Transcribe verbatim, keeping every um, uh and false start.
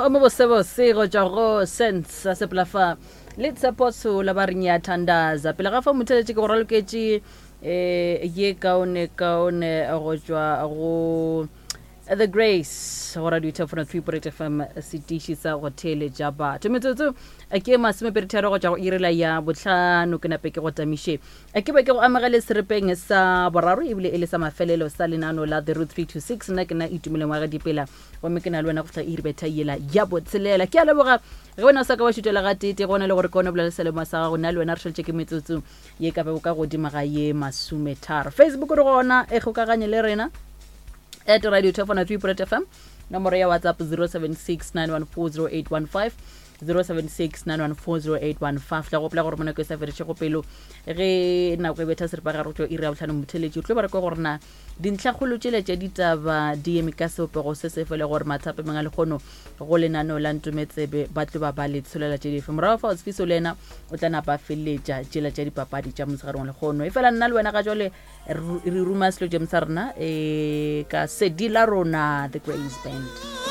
Mmino o mobosebose go tšwa go Sense sa sepela fa le Tshepo Tshola ba re nyathandaza. Pele ga fa motheletše ke go raloketše um ye kaone kaone go tšwa go The Grace go radio Top one oh three point eight F M, setiši sa go theeletša batho. Metsotso ke masomepedi tharo go tšwa go iri la ya bohlano, ke nape ke go tamiše. Ke be ke go amogele seripeng sa boraro ebile e le sa mafelelo sa lenano la The Root three two six. Nna ke nna Itumeleng wa ga Dipela, gomme ke na le wena go fihla iri betha yela ya botshelela. Ke a leboga ge wena o sa ka wa šutela ga tete, gona le gore ke one bolela selemo sa gago. Nna le wena re šaletše ke metsotso ye ka bego ka godimo ga ye masometharo. Facebook re gona, e kgokaganye le rena at radio Top one oh three point eight F M, nomoro ya WhatsApp zero seven six nine one four zero eight one five, zero seven six nine one four zero eight one five. Tla gopola gore mo nako e sa feditšego pelo ge nako e betha seripa gare go tšwa iri ya bohlano motheletši, o tlo ba re kwa gore na dintlhakgolo tšela tša ditaba di eme ka sebopego se se fele gore mathapemeng a lekgono go lenaneo la Ntometsebe ba tlo ba ba le tsholela tše dife. Morago fa Otsfiso le yena o tla napa a feleletša tšela tša dipapadi tša motshegareng wa lekgono. E fela nna le wena ga jwale re ruma selo jam sa rena, e ka sedi la rona The Grace Band.